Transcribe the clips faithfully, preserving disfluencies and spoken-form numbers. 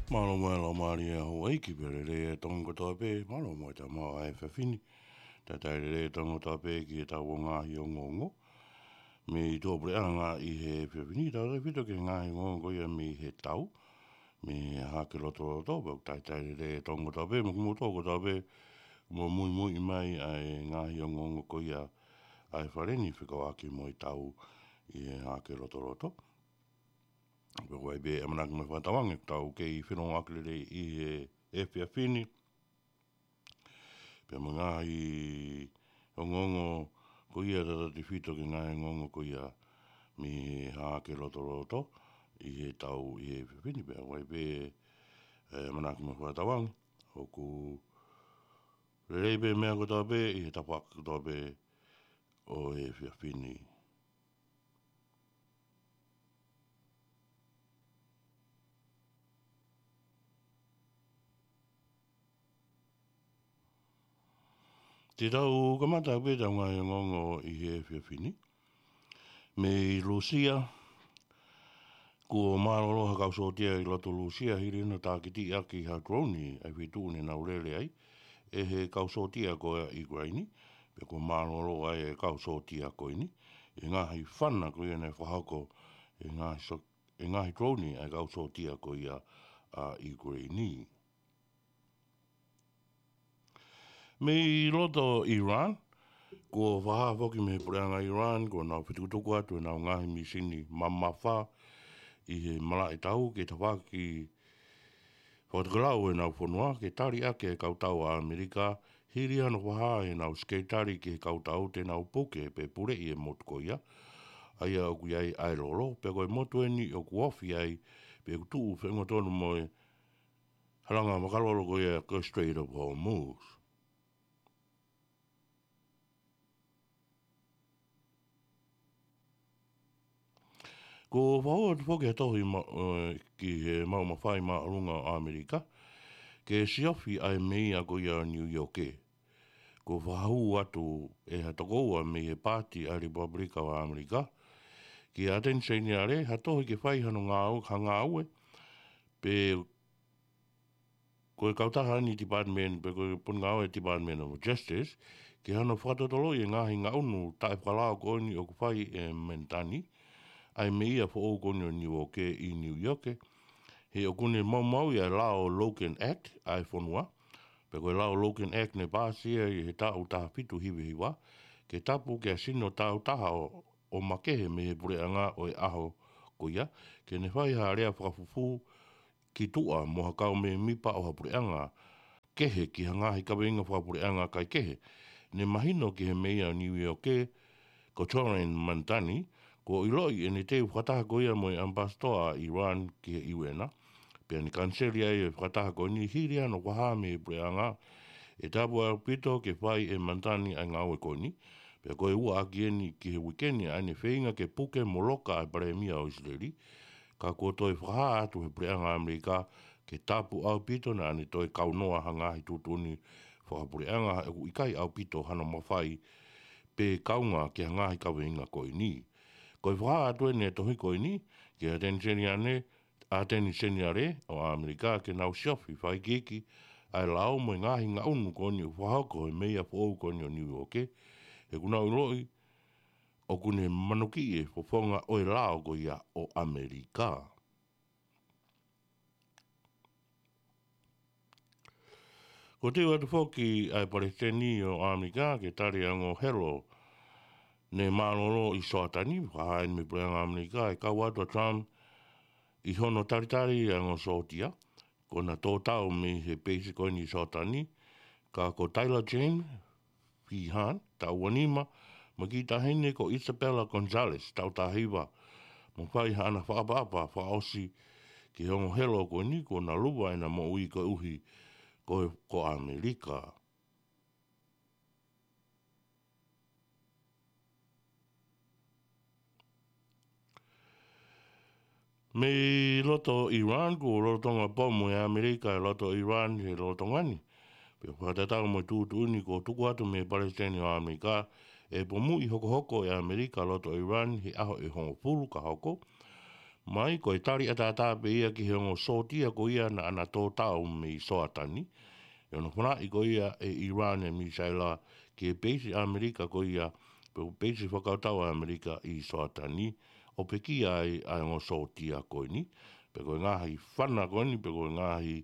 Mālō mo e laumālie ʻa houʻeiki pea lelei e Tonga kotoa pē, mālō mo e tama ʻa e efiafi ni. Talitali lelei e Tonga kotoa pē ki heʻetau ngaahi ongoongo mei tuʻapuleʻanga ʻi he efiafi ni, tautautefito ki he ngaahi ongoongo ko ia mei he tau, mei he hahake lotoloto, pea ʻoku talitali lelei e Tonga kotoa pē, mo kimoutolu kotoa pē, mo muimui mai ʻa e ngaahi ongoongo ko ia ʻa e fale ni fekauʻaki mo e tau ʻi he hahake lotoloto. Pea ʻoku ʻi ai pē ʻamanaki mo e fakatauange, tau kei feʻiloaki lelei ʻi he efiafi ni. Pea mo e ngaahi ongoongo ko ia tautautefito ki he ngaahi ongoongo ko ia mei he hahake lotoloto ʻi he tau ʻi he efiafi ni. Pea ʻoku ʻi ai pē, ē, ʻamanaki mo e fakatauange, ʻoku lelei pē meʻa kotoa pē ʻi he tafaʻaki kotoa pē ʻo e efiafi ni. Te tau kamata pē ʻetau ngaahi ongoongo ʻi he efiafi ni. Mei Lūsia, kuo mālōlō ha kau sōtia ʻi loto Lūsia hili hono tākitiʻaki ha drone ʻa e feituʻu ne nau lele ai ʻe he kau sōtia ko ia ʻa ʻIukeleini, pea kuo mālōlō ai e kau sōtia ko eni ʻi he ngaahi fana ko ia naʻe fakahoko ʻe he ngaahi sō-, ʻe he ngaahi drone ʻa e kau sōtia ko ia ʻa ʻIukeleini. Mei loto Iran, kuo fakahā foki mei he puleʻanga Iran, kuo nau fetukutuku atu ʻenau ngaahi mīsini mamafa ʻi he malaʻe tau ki he tafaʻaki fakatokelau ʻenau fonua, ke tali ʻaki e kau tau ʻa ʻAmelika, hili hano fakahā ʻenau sekelitali ki he kau tau te nau puke pe puleʻi e motu ko ia, ʻa ia ʻoku ʻi ai ʻa e lolo, pea ko e motu eni ʻoku ofi ai, pe ʻoku tuʻu feʻunga tonu mo e halanga makalolo ko ia ko e Strait of Hormuz. Kuo fakahū atu foki ha tohi ma-, ē, ki he maʻu mafai māʻolunga ʻo ʻAmelika, ke siofi ʻa e meia ko ia ʻo Niu ʻIoke. Kuo fakahū atu ʻe ha tokoua mei he paati ʻa e Lepupelika ʻo ʻAmelika, kia ʻAteni Seniale, ha tohi ke fai hano ngāu-, ha ngāue, pe ko e kautaha ʻa e Department, pe ko e potungāue Department of Justice, ke hano fakatotoloʻi e ngaahi ngaʻunu taʻefakalao ko eni ʻoku fai ʻe Manitani, ʻa e meia foʻou ko eni ʻo Niu ʻIoke ʻi Niu ʻIoke, he ʻoku ne maumauʻi ʻa e lao Logan Act ʻa e fonua, pe ko e lao Logan Act ne pāsi ia ʻi he taʻu taha fitu hiva hiva, ke tapu ke sino tāutaha ʻo, ʻo makehe mei he puleʻanga ʻo e ʻaho ko ia, ke ne fai ha lea fakafufū ki tuʻa mo ha kau mēmipa ʻo ha puleʻanga kehe ki ha ngaahi kaveinga fakapuleʻanga kae kehe. Ne mahino ki he meia ʻo Niu ʻIoke, ko Zohran Mamdani, kuo ʻiloʻi ʻene teu fakataha ko ia mo e ʻAmipasitoa ʻa Iran ki he ʻIu ʻEne, pea ne kaniseli ai e fakataha ko eni hili hano fakahā mei he puleʻanga ʻe tapu ʻaupito ke fai ʻe Mamdani ʻa e ngāue ko eni, pea ko e ua ʻaki eni ki he uike ni ʻa ʻene feinga ke puke mo loka ʻa e palēmia ʻo ʻIsileli, ka kuo toe fakahā atu he puleʻanga ʻAmelika ke tapu ʻaupito naʻa ne toe kaunoa ha ngaahi tuʻutuʻuni fakapuleʻanga he ʻoku ʻikai ʻaupito hano mafai pe kaunga ki ha ngaahi kaveinga ko eni. Ko e fakahā atu eni e tohi ko eni, kia ʻAteni Seniale, ʻAteni Seniale ʻo ʻAmelika ke nau siofi fakaikiiki ʻa e lao mo e ngaahi ngaʻunu ko eni ʻoku fakahoko ʻe he meia foʻou ko eni ʻo Niu ʻIoke, he ʻoku nau ʻiloʻi ʻoku ne manukiʻi e fofonga ʻo e lao ko ia ʻo ʻAmelika. Kuo teu atu foki ʻa e Palesiteni ʻo ʻAmelika ke tali ʻa e ongo helo ne mālōlō ʻi Soatani, fakahā eni mei he puleʻanga ʻAmelika, ʻe kau atu ʻa Trump ʻi hono talitali ʻa e ongo sōtia, ko ʻena tō tau mei he peisi ko eni ʻi Soatani, ka ko Tyler James Feehan, taʻu ua nima, mo e kiʻi taʻahine ko Isabella Gonzalez, taʻu taha hiva, mo fai haʻana fakaʻapaʻapa fakaʻosi ki he ongo helo ko eni kuo na luva ʻena moʻui koeʻuhi ko, ko ʻAmelika. Mei loto Iran, kuo lolotonga pomu ʻe ʻAmelika e loto Iran he lolotonga ni. Pea fakatatau mo e tuʻutuʻuni kuo tuku atu mei he Palesiteni ʻo ʻAmelika, ʻe pomuʻi hokohoko ʻe ʻAmelika loto Iran he ʻaho ʻe hongofulu ka hoko. mai, ko e tali ʻataʻatā pē ia ki he ongo sōtia ko ia naʻa na tō tau mei Soatani, ʻi hono fanaʻi ko ia ʻe ʻIrani e misaila ki he peisi ʻAmelika ko ia, pe ko e peisi fakakautau ʻa ʻAmelika ʻi Soatani, ʻo pekia ai ʻa e ongo sōtia ko eni, pe ko e ngaahi fana ko eni, pe ko e ngaahi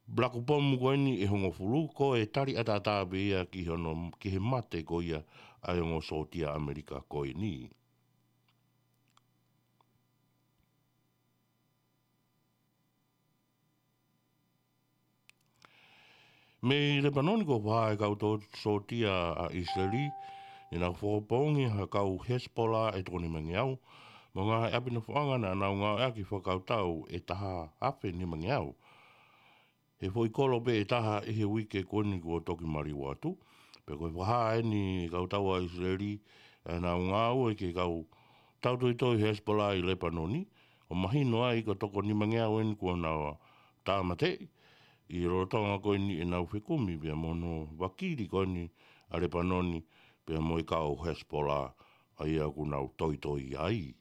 blakupomu ko eni ʻe hongofulu, ko e tali ʻataʻatā pē ia ki hono, ki he mate ko ia ʻa e ongo sōtia ʻAmelika ko eni. Mei Lepanoni, kuo fakahā ʻe he kau tō-, sōtia ʻa ʻIsileli, ne nau fakapoongi ha kau Hezbollah ʻe toko nimangeau, mo e ngaahi ʻapi nofoʻanga naʻa nau ngāueʻaki fakakautau ʻe taha afe nimangeau. He foʻi kolo pē ʻe taha ʻi he uike ko eni kuo toki maliu atu. Pea ko e fakahā eni ʻe he kau tau ʻa ʻIsileli, ʻa ʻenau ngāue ki he kau tautoitoi Hezbollah ʻi Lepanoni, ʻo mahino ai ko e toko nimangeau eni kuo nau tāmateʻi, ʻi he lolotonga ko eni ʻenau fekumi pea mo hono vakili ko eni ʻa Lepanoni, pea mo e kau Hezbollah, ʻa ia ʻoku nau toitoi ai.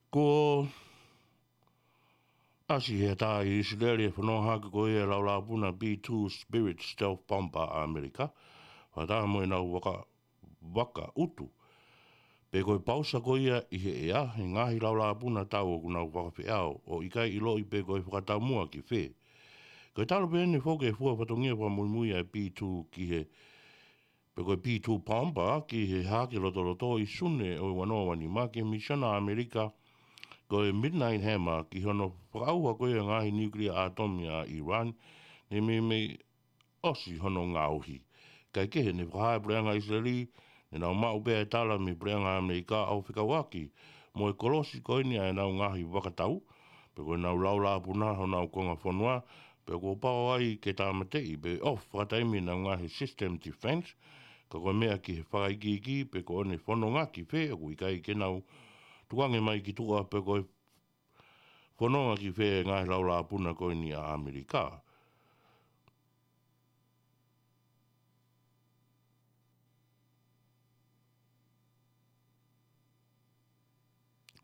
Kuo ʻasi he ʻatā ʻi ʻIsileli e fononga hake ko ia e laulāpuna B two Spirit stealth bomber ʻa ʻAmelika, fakataha mo ʻenau vaka, vaka utu. Pea ko e pausa ko ia ʻi he ʻea, he ngaahi laulāpuna tau ʻoku nau fakafeʻao, ʻo ʻikai ʻiloʻi pe ko e fakataumuʻa ki fē. Ko e talu pē eni e foki e fua fatongia fakamuimui ʻa e B two ki he, pe ko e B two bomber ki he hahake lotoloto ʻi Sune ʻo e ua noa ua nima ki he misiona ʻa ʻAmelika, ko e Midnight Hammer, ki hono fakaʻauha ko ia e ngaahi niukilia ʻātomi ʻa ʻIrani, ne meimei ʻosi hono ngaohi. Kae kehe, ne fakahā ʻe he puleʻanga ʻIsileli, ne nau maʻu pē ʻa e tala mei he puleʻanga ʻAmelika ʻo fekauʻaki mo e kolosi ko eni ʻa ʻenau ngaahi vaka tau, pe ko ʻenau laulāpuna honau konga fonua, pea kuo pau ai ke tāmateʻi pe ʻofa fakataimi ʻenau ngaahi system defense, ka ko e meʻa ki he fakaikiiki pe ko ʻene fononga ki fē ʻoku ʻikai ke nau tukuange mai ki tuʻa pe ko e fononga ki fē e ngaahi laulāpuna ko eni ʻa ʻAmelika.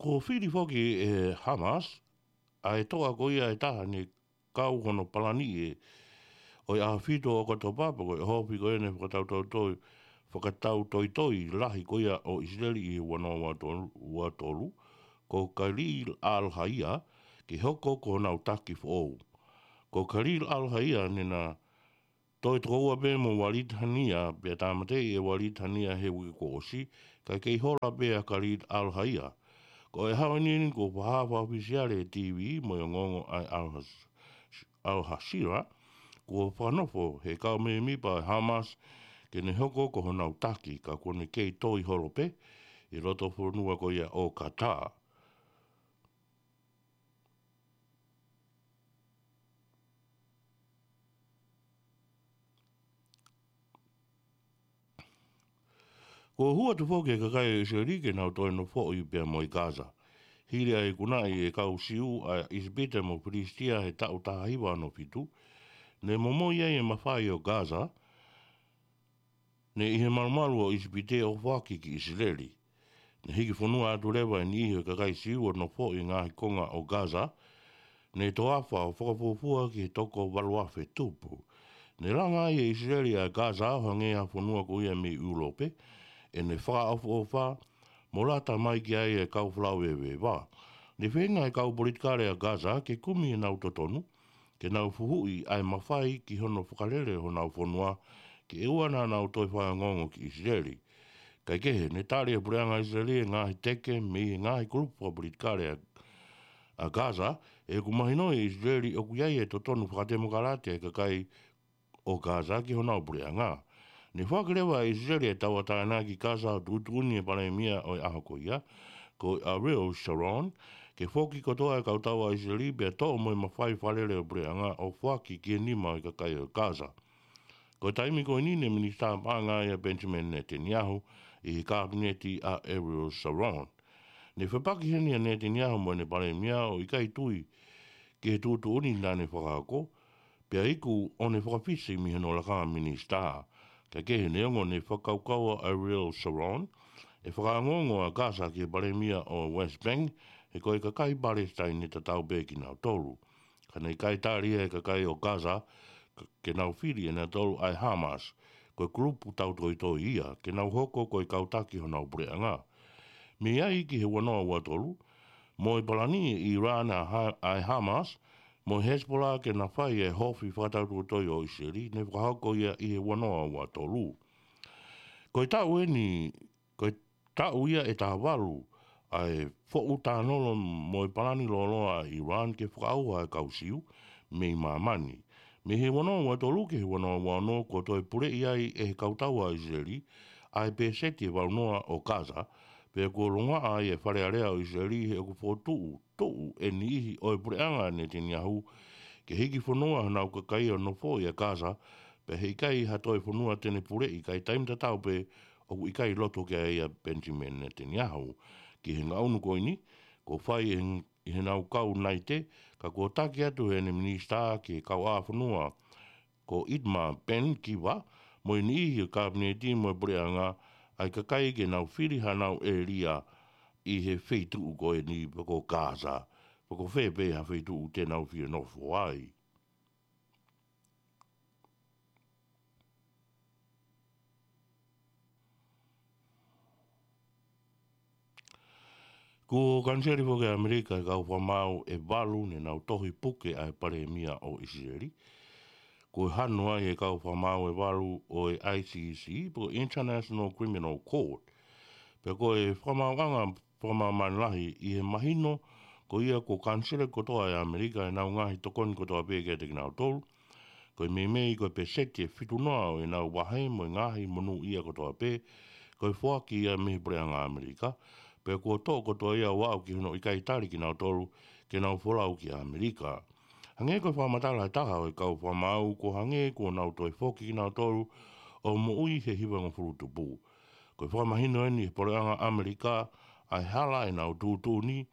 Kuo fili foki ʻe Hamas ʻa e toʻa ko ia ʻe taha ne kau hono palani ʻi he ʻaho fitu ʻo ʻOkatopa, pe ko e ʻohofi ko eni e fakatautoitoi, fakatautoitoi lahi ko ia ʻo ʻIsileli ʻi he ua noa ua tolu, ua tolu, ko Khalil al-Hayya, ke hoko ko honau taki foʻou. Ko Khalil al-Hayya ne na toe tokoua pē mo Walid Haniyeh, pea tāmateʻi ʻe Walid Haniyeh he uike kuo ʻosi, kae kei hola pē ʻa Khalil al-Hayya. Ko e ʻaho ni eni kuo fakahā fakaʻofisiale ʻe he T V mo e ongoongo ʻa e Al-Has-, Al-Jazeera, kuo fakanofo ʻe he kau mēmipa ʻo e Hamas ke ne hoko ko honau taki, ka kuo ne kei toi holo pē ʻi loto fonua ko ia ʻo Qatar. Kuo hū atu foki e kakai ʻo ʻIsileli ke nau toe nofoʻi pea mo e Gaza. Hili ʻa e ikunaʻi ʻe he kau Siu ʻa ʻIsipite mo Filisitia he taʻu taha hiva ono fitu, ne momoi ai e mafai ʻo Gaza, ne ʻi he malumalu ʻo ʻIsipite ʻo foaki ki ʻIsileli. Ne hiki fonua atu leva e niʻihi ʻo e kakai Siu ʻo nofoʻi e ngaahi konga ʻo Gaza, ne toafa ʻo fakafuofua ki he toko valu afe tupu. Ne langa ai ʻe ʻIsileli ʻa Gaza ʻo hangē ha fonua ko ia mei ʻIulope, ʻene fakaʻofoʻofa, mo lata mai ki ai e kau folau veveva. Ne feinga e kau politikale ʻa Gaza ke kumi ʻenau totonu, ke nau fuhuʻi ʻa e mafai ki hono fakalele honau fonua, ke ʻoua naʻa nau toe fakaongoongo ki ʻIsileli. Kae kehe, ne tali ʻe he puleʻanga ʻIsileli e ngaahi teke mei he ngaahi kulupu fakapolitikale ʻa, ʻa Gaza, he ʻoku mahinoʻi ʻe ʻIsileli ʻoku ʻi ai e totonu fakatemokalati ʻa e kakai ʻo Gaza ki honau puleʻanga. Ne foaki leva ʻe ʻIsileli e tauʻatāina ki Gaza ʻo tuʻutuʻuni ʻe he palēmia ʻo e ʻaho ko ia, ko Ariel Sharon, ke foki kotoa e kau tau ʻa ʻIsileli pea toʻo mo e mafai fakalele ʻo e puleʻanga ʻo foaki ki he nima ʻo e kakai ʻo Gaza. Ko e taimi ko eni ne Minisitā Paʻanga ia ʻa Benjamin Netanyahu ʻi he kāpineti ʻa Ariel Sharon. Ne fepaki heni ʻa Netanyahu mo ʻene palēmia ʻo ʻikai tui ki he tuʻutuʻuni naʻa ne fakahoko, Pea iku ʻo ne fakafisi mei hono lakanga minisitā. Kae kehe, neongo ne fakakaukau ʻa Ariel Sharon ʻe fakaongoongo ʻa Gaza ki he palēmia ʻo West Bank, he ko e kakai Palesitaine tatau pē kinautolu. Ka naʻe ʻikai tali ʻe he kakai ʻo Gaza ke nau fili ʻe nautolu ʻa e Hamas, ko e kulupu tautoitoi ia, ke nau hoko ko e kau taki honau puleʻanga. Mei ai ki he ua noa ua tolu, mo e palani ʻe Iran ʻa e Hamas mo e Hezbollah ke na fai e hofi fakatautoitoi ʻo ʻIsileli, ne fakahoko ia ʻi he ua noa ua tolu. Ko e taʻu eni, ko e taʻu ia ʻe taha valu ʻa e foʻu tānolo mo e palani lōloa ʻa Iran ke fakaʻauha e kau Siu mei māmani. Mei he ua noa ua tolu ki he ua noa ua ono, kuo toe puleʻi ai ʻe he kau tau ʻa ʻIsileli ʻa e peseti ʻe valu noa ʻo Gaza, pea kuo longoaʻa ai e Fale Alea ʻo ʻIsileli he ʻoku fokotuʻu tuʻu e niʻihi ʻo e puleʻanga ʻa Netanyahu ke hiki fonua honau kakai ʻo nofo ʻi Gaza, pea he ʻikai ha toe fonua te ne puleʻi kae taimi tatau pē ʻoku ʻikai loto ki ai ʻa Benjamin Netanyahu. Ki he ngaʻunu ko eni, kuo fai ʻi he, ʻi heʻenau kau naite, ka kuo taki atu heʻene minisitā ki he kauʻāfonua ko Itamar Ben-Gvir, mo e niʻihi ʻo e kapineti mo e puleʻanga ʻa e kakai ke nau fili hanau ʻēlia ʻi he feituʻu ko eni pe ko Gaza, pe ko fē pē ha feituʻu te nau fie nofo ai. Kuo kaniseli foki ʻe ʻAmelika e kau fakamaau ʻe valu ne nau tohi puke ʻa e palēmia ʻo ʻIsileli. Kuo hanu ai e kau fakamaau ʻe valu ʻo e I C C, pe ko e International Criminal Court. Pea ko e fakamaauʻanga fakamāmani lahi ʻi he mahino, ko ia kuo kaniseli kotoa ʻe ʻAmelika ʻenau ngaahi tokoni kotoa pē kiate kinautolu. Ko e meimei ko e peseti ʻe fitu noa ʻo ʻenau vahe mo e ngaahi monūʻia kotoa pē, ko e foaki ia mei he puleʻanga ʻAmelika, pea kuo toʻo kotoa ia ʻo aʻu ki hono ʻikai tali kinautolu ke nau folau ki ʻAmelika. Hangē ko e fakamatala ʻe taha ʻo e kau fakamaau, kuo hangē kuo nau toe foki kinautolu ʻo moʻui he hivangofulu tupu. Ko e fakamahino eni ʻe he puleʻanga ʻAmelika ʻa e hala ʻenau tuʻutuʻuni,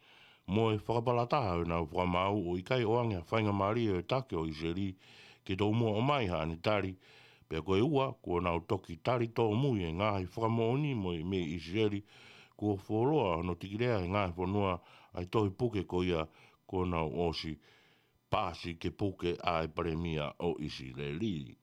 mo e fakapalataha ʻenau fakamaau ʻo ʻikai ʻoange ha faingamālie ʻo e taki ʻo ʻIsileli ke tomuʻa ʻomai haʻane tali, pea ko e ua, kuo nau toki tali tōmui e ngaahi fakamoʻoni mo e mei ʻIsileli, kuo fuoloa hono tikilea ʻe he ngaahi fonua ʻa e tohi puke ko ia kuo nau ʻosi pasi ke puke ʻa e palēmia ʻo ʻIsileli.